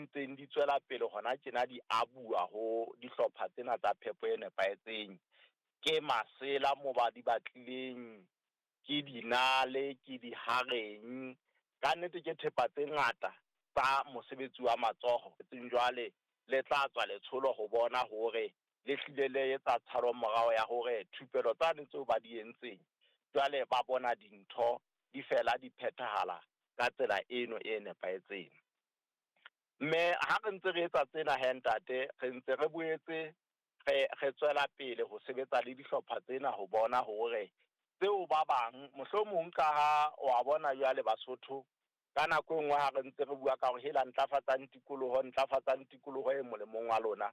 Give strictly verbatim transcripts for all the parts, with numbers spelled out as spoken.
ntseng di tswela pele hona tjena di abuwa ho dihlopha tsena tsa phepo e nepahetseng. Ke masela mo ba di batlileng, ke dinale, ke dihareng. Ka nnete ke thepa tse ngata tsa mosebetsi wa matsoho. Jwale le tla tswa letsholo ho bona hore le hlile le etsa tshalo morao ya hore thupelo tsane tseo ba di entseng jwale ba bona dintho di fela di phethahala ka tsela eno e nepahetseng. Mme ha re ntse re etsa tsena he ntate, re ntse re boetse re re tswela pele ho sebetsa le dihlopha tsena ho bona hore tseo ba bang mohlomong ka ha wa bona jwale Basotho ka nako e nngwe ha re ntse re bua ka hore hela ntlafatsang tikoloho, ntlafatsang tikoloho e molemong wa lona,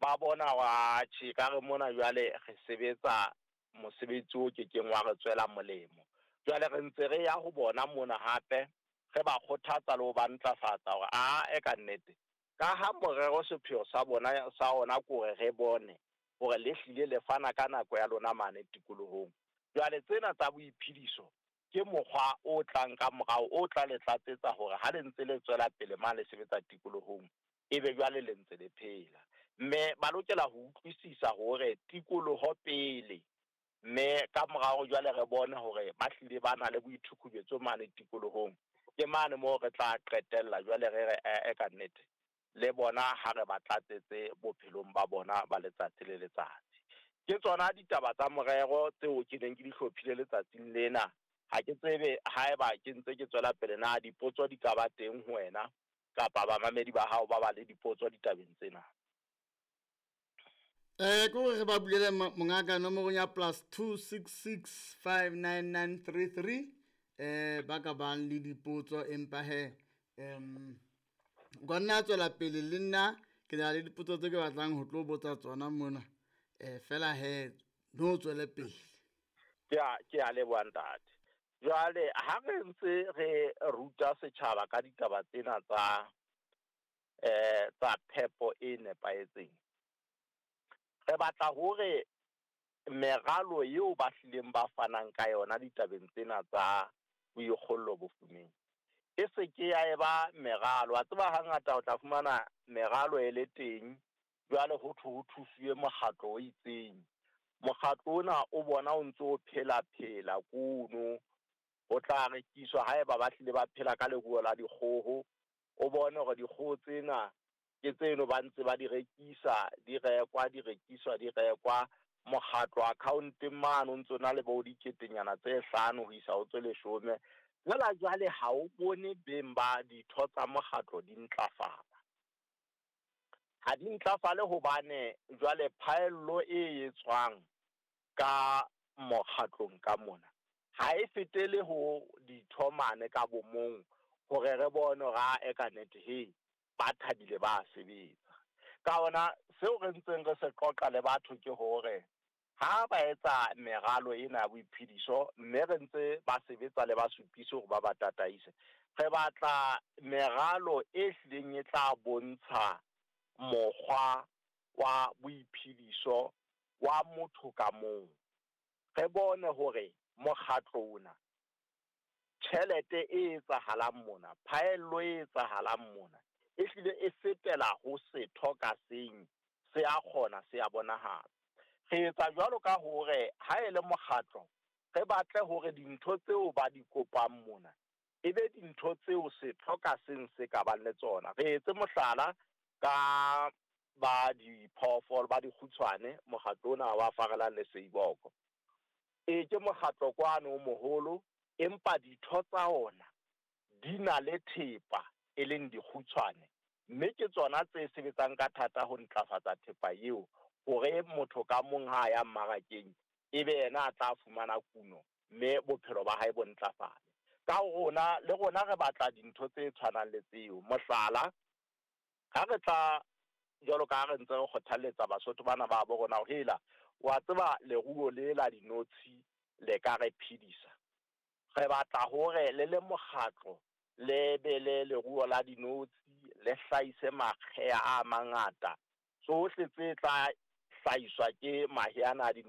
ba bona wa tjhe ka re mona jwale re sebetsa mosebetsi o kekeng wa re tswela molemo. Jwale re ntse re ya ho bona mona hape re ba kgothatsa le ho ba ntlafatsa hore a e ka nnete ka ha morero sepheo sa bona sa ona ke hore re bone hore le hlile le fana ka nako ya lona mane tikolohong. Jwale tsena tsa boiphediso ke mokgwa o tlang ka morao o tla le tlatsetsa hore ha le ntse le tswela pele mane le sebetsa tikolohong ebe jwale le ntse le phela. Mme ba lokela ho utlwisisa hore tikoloho pele, mme ka morao jwale re bone hore ba hlile ba na le boithukubetso mane tikolohong. Ke mane moo re tla qetella jwale re re e ka nnete le bona ha re ba tlatsetse bophelong ba bona ba letsatsi le letsatsi. Ke tsona ditaba tsa morero tseo ke neng ke di hlophile letsatsing lena. Ha ke tsebe haeba ke ntse ke tswela pele na dipotso di ka ba teng ho wena kapa bamamedi ba hao ba ba le dipotso ditabeng tsena. Eh ko re ba bulele mongaka nomoro ya plus two six six five nine nine three three eh ba ka bang le dipotso empa he em gonna tswela pele le nna ke na le dipotso tse ke batlang ho tlo botsa tsona mona eh fela he no tswele pele. Ke a ke a leboha ntate. Jwale ha re ntse re ruta setjhaba ka ditaba tsena tsa eh tsa phepo e nepahetseng, re batla hore meralo eo ba hlileng ba fanang ka yona ditabeng tsena tsa boikgollo bofumeng e se ke ya eba meralo. Wa tseba hangata o tla fumana meralo e le teng jwale ho thwe ho thusuwe mokgatlo o itseng. Mokgatlo ona o bona o ntso o phela phela kuno, o tla rekiswa haeba ba hlile ba phela ka leruo la dikgoho. O bone hore dikgoho tsena ke tseno ba ntse ba di rekisa, di rekwa, di rekiswa, di rekwa. Mokgatlo account-eng mane o ntso na le bo diketenyana tse hlano ho isa ho tse leshome. Jwale jwale ha o bone beng ba ditho tsa mokgatlo di ntlafala. Ha di ntlafale hobane jwale phaello e etswang ka mokgatlong ka mona ha e fetele ho ditho mane ka bomong hore re bone hore a e ka nnete he ba thabile ba sebetsa. Ka hona seo re ntseng re se qoqa le batho ke hore ha ba etsa meralo ena ya boiphediso mme re ntse ba sebetsa le basupisi hore ba ba tataise, re batla meralo e hlileng e tla bontsha mokgwa wa boiphediso wa motho ka mong. Re bone hore mokgatlo ona tjhelete e etsahalang mona, phaello e etsahalang mona e hlile e fetela ho setho ka seng, se a kgona, se a bonahala. Re etsa jwalo ka hore ha e le mokgatlo re batle hore dintho tseo ba di kopang mona e be dintho tseo setho ka seng se ka bang le tsona. Re etse mohlala ka ba diphoofolo ba dikgutshwane, mokgatlo ona wa Farelang le Seiboko. E ke mokgatlo kwano o moholo, empa ditho tsa ona di na le thepa e leng dikgutshwane, mme ke tsona tse sebetsang ka thata ho ntlafatsa thepa eo hore motho ka mong ha ya mmarakeng ebe yena a tla fumana kuno mme bophelo ba hae bo ntlafale. Ka rona le rona re batla dintho tse tshwanang le tseo. Mohlala, ha re tla jwalo ka ha re ntse re kgothalletsa Basotho bana ba bo rona hore hela wa tseba leruo le la dinotshi le ka re phedisa, re batla hore le le mokgatlo le be le leruo la dinotshi le hlahise makgeha a mangata. Tsohle tse tla hlahiswa ke mahe ana a dinotshi